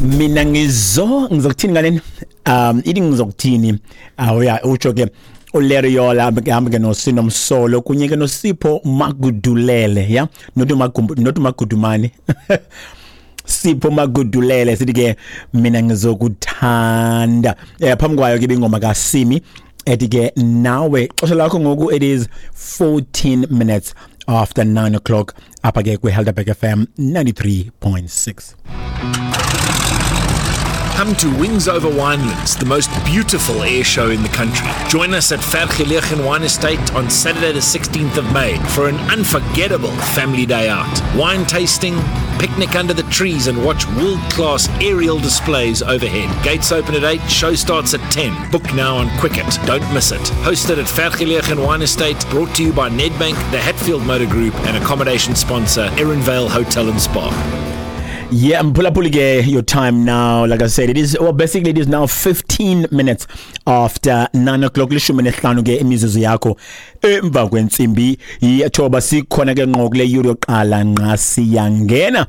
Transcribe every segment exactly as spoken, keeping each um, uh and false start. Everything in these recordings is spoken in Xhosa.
Mina ngizo ngizokuthini ngaleni? Um ithi ngizokuthini? Awuya utsho ke uLeriola hamba ke noSinomsolo kunye ke noSipho Magudulele, ya, not Magumbu, not Magudumane, Sipho Magudulele. Sithi ke mina ngizokuthanda. Eh phambi kwayo ke ingoma kaSimi ethi ke nawe. Xesha lakho ngoku, it is fourteen minutes after nine o'clock apha ke kwi-Helderberg F M ninety-three point six. Come to Wings Over Winelands, the most beautiful air show in the country. Join us at Vergelegen Wine Estate on Saturday, the sixteenth of May, for an unforgettable family day out. Wine tasting, picnic under the trees, and watch world class aerial displays overhead. Gates open at eight, show starts at ten. Book now on Quicket. Don't miss it. Hosted at Vergelegen Wine Estate, brought to you by Nedbank, the Hatfield Motor Group, and accommodation sponsor Erinvale Hotel and Spa. Yeah, mphulaphuli ke, your time now, like I said, it is, well, basically it is now fifteen minutes after nine o'clock, lishumi nesihlanu ke imizuzu yakho emva kwentsimbi yethoba. Sikhona ke ngqo kule yure yokuqala nqa, siyangena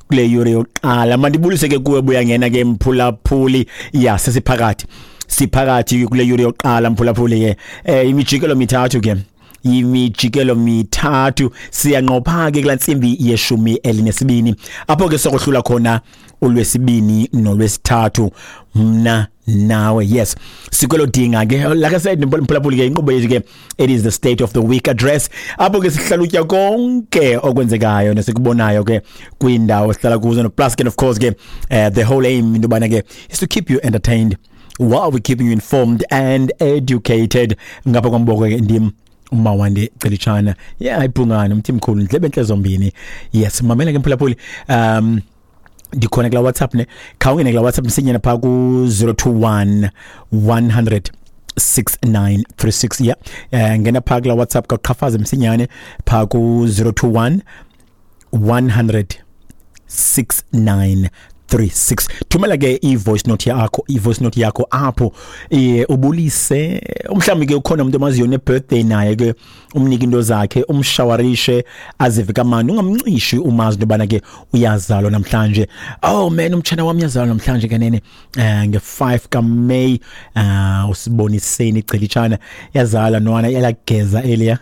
kule yure yokuqala. Mandibulise ke kuwe buya ngena ke mphulaphuli. Ya, sesiphakathi, siphakathi kule yure yokuqala mphulaphuli ke. Eh imijikelo mithathu ke, imijikelo mithathu, siyanqopha ke kulaa ntsimbi yeshumi elinesibini, apho ke sokohlula khona ulwesibini nolwesithathu, mna nawe. Yes, sikwelo dinga ke. Like I said, mphulaphuli ke, inkqubo yethu ke, it is the State of the Week Address, apho ke sihlalutya konke okwenzekayo nesikubonayo ke kwiindawo esihlala kuzo. No plus ke, of course ke, uh, the whole aim into yobana ke is to keep you entertained while we keeping you informed and educated. Ngapha kwamboko ke ndim uMawande Celitshana, yeah, ibhungane umthi mkhulu, ndlebe entle zombini. Yes, mamela ke mphulaphuli, um ndikhona kula WhatsApp ne, khawungene kula WhatsApp msinyana phaa ku zero two one one hundred six nine three six. Yeah, eh ngena phaa kula WhatsApp, kaqhafaze msinyane phaa ku zero two one one hundred six nine three six. Thumela ke i-voice note yakho, i-voice note yakho apho, eh ubulise umhlawumbi ke ukhona umuntu omaziyo ne-birthday naye ke, umnike into zakhe, umshawarishe azive kamnandi, ungamncishi umazi into yobana ke uyazalwa namhlanje. Oh man, umtshana wami uyazalwa namhlanje kanene, eh nge-five kaMay, eh usiboniseni icelitshana yazalwa nwana elageza elia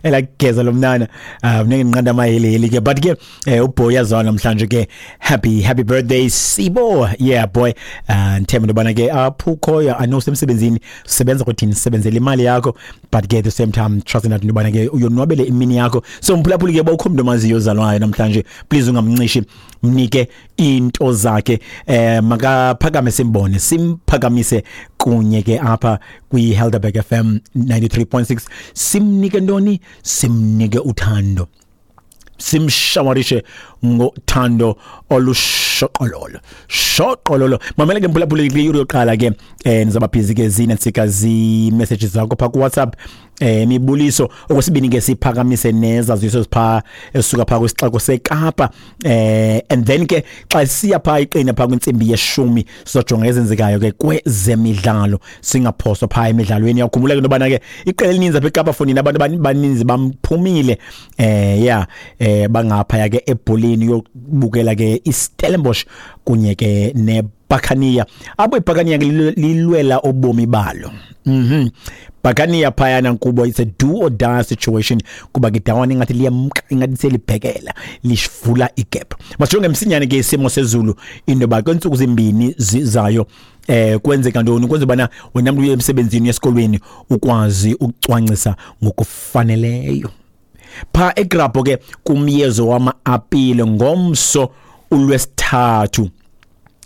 elageza lo mnana, um ngeke nginqanda amahilihili ke, but ke eh uboy yazalwa namhlanje ke. Happy, happy birthday, Sibo. Yeah boy, uh ndithemba into yobana ke apho ukhoyo, I know semsebenzini, sebenza kuthini, sebenzela imali yakho, but ke at the same time trusting that into yobana ke uyonwabele imini yakho. So mphulaphuli ke, bawukho umntu omaziyo ozalwayo namhlanje, please ungamncishi, mnike into zakhe, eh makaphakame simbone, simphakamise kunye ke apha kwi-Helderberg F M ninety-three point six. Simnike ntoni? Simnike uthando, simshawarishe ngothando olushoqololo shoqololo. Mamela ke mphulaphuli, kule yure yokuqala ke, eh nizaba busy ke zinantsika zi-messages zakho phaa ku-WhatsApp, eh imibuliso. Okwesibini ke siphakamise nezaziso zipha esuka phaa kwisixeko seKapa, eh and then ke xa siya phaa iqina phaa kwintsimbi yeshumi, sizojonga ezenzekayo ke kwezemidlalo, singaphoswa phaa emidlalweni. Uyakhumbula ke into yobana ke iqela elininzi apha eKapa fondini, abantu abaninzi bamphumile, eh yeah, eh bangaphaya ke ebholeni yokubukela ke iStellenbosch kunye ke neBuccaneer, apho iBuccaneer ke lilwela ubomi balo. mhm Buccaneer phayana nkubo, it's a do or die situation, kuba ke dawana ingathi liyamka, ingathi selibhekela lishivula igap. Masijonge msinyane ke isimo sezulu, into yoba kweentsuku zimbini zizayo eh kwenzeka ntoni, kwenza bana wena mntu uye emsebenzini, esikolweni, ukwazi ukucwangcisa ngokufaneleyo. Pha eGrabho ke kumyezo wama-apile ngomso ulwesithathu,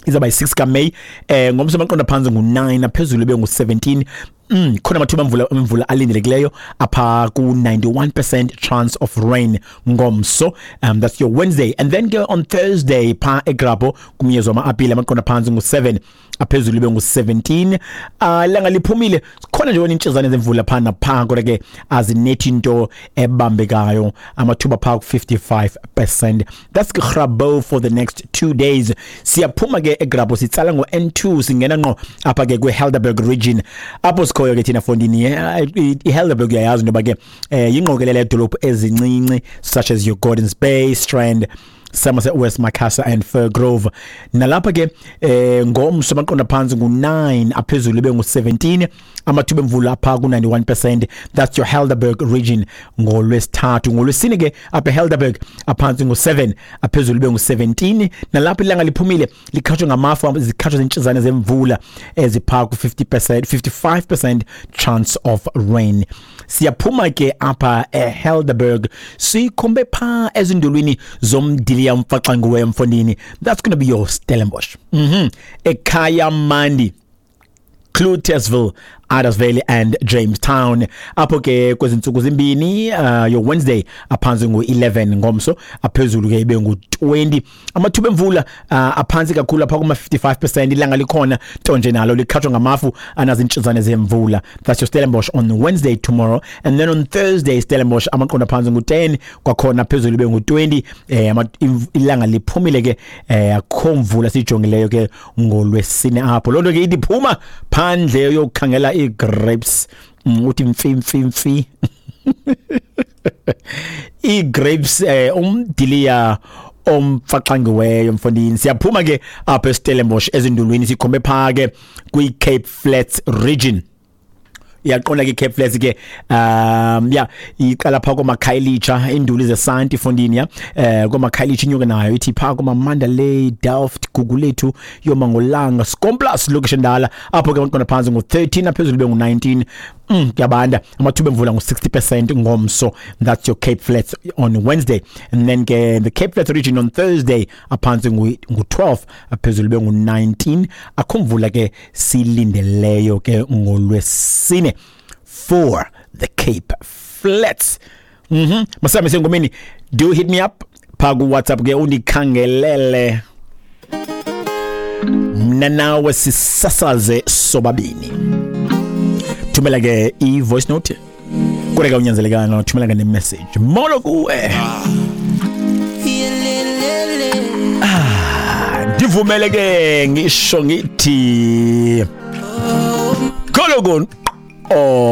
izawuba yi-six kaMeyi. eh ngomso amaqondo phantsi ngu-nine, aphezulu ibe ngu-seventeen. Mm khona amathuba emvula emvula alindelekileyo apha ku ninety-one percent chance of rain ngomso. um that's your Wednesday. And then ke on Thursday pha eGrabho kumyezo wama-apile, amaqondo phantsi ngu-seven, aphezulu ibe ngu-seventeen. uh ilanga liphumile, khona nje wena intshizane zemvula pha napha, kodwa ke azinethi into ebambekayo, amathuba pha ku fifty-five percent. That's Grabbo for the next two days. Siyaphuma ke eGrabho, sitsala ngo-N two, singena ngqo apha ke kwi-Helderberg region apho sikhoyo ke thina fondini. I-Helderberg uyayazi into yoba ke eh yingqokelela yedolophu ezincinci such as your Gordons Bay, Strand, Somerset West, Macassar and Firgrove. Nalapha ke eh ngomso amaqondo phantsi ngu nine, aphezulu ibe ngu seventeen, amathuba emvula apha ku ninety-one percent. That's your Helderberg region ngolwesithathu. Ngolwesine ke apha eHelderberg aphantsi ngu seven, aphezulu ibe ngu seventeen. Nalapha ilanga liphumile, likhatshwe ngamafu, zikhatshwe zintshizane zemvula ezipha ku fifty percent, fifty-five percent chance of rain. Siyaphuma ke apha eHelderberg, sikhombe pha ezindulwini zomdiliya mfaxanguwe, mfondini. That's going to be your Stellenbosch, mhm ekhaya mandi, Cloetesville, Idas and Jamestown. Apho ke kwezi ntsuku zimbini, uh, your Wednesday aphantsi ngu eleven, ngomso aphezulu ke ibe ngu twenty. Amathuba emvula uh, aphantsi kakhulu apha kuma fifty-five percent. Ilanga likhona, ntonje nalo likhatshwa ngamafu anazintshizane zemvula. That's your Stellenbosch on Wednesday, tomorrow. And then on Thursday, Stellenbosch amaqondo aphantsi ngu ten, kwakhona phezulu ibe ngu twenty. eh ilanga liphumile ke, eh akho mvula sijongileyo ke ngolwesine apho. Lonto ke ithi phuma phandle yokukhangela ii-grapes, mm, uthi mfi mfi mfi ii-grapes, eh umdiliya omfaxangiweyo, mfondini. Siyaphuma ke apha eStellenbosch ezindulwini, sikhombe pha ke kwi-Cape Flats region. Iyaqonda ke Cape Flats ke, um yeah, iqala pha komaKhayelitsha, induli zesanti, fondini, ya eh komaKhayelitsha, inyuke nayo ithi pha koma Mandalay, Delft, Gugulethu, yomangolanga, Skomplaas, location ndala. Apho ke amaqondo phantsi ngu thirteen, aphezulu bengu nineteen. mm kuyabanda amathuba emvula ngu sixty percent ngomso. That's your Cape Flats on Wednesday. And then ke the Cape Flats region on Thursday aphantsi ngu twelve, aphezulu bengu nineteen. Akho mvula ke silindeleyo ke ngolwesine for the Cape Flats. mhm masame sengomeni. Do hit me up pha ku WhatsApp ke, undikhangelele, mna nawe sisasaze sobabini. Thumela ke i-voice note, kodwa ke unyanzelekanga, thumela ke ne-message. Molo kuwe. Ah, ndivumele ke ngisho ngithi khologon. Oh.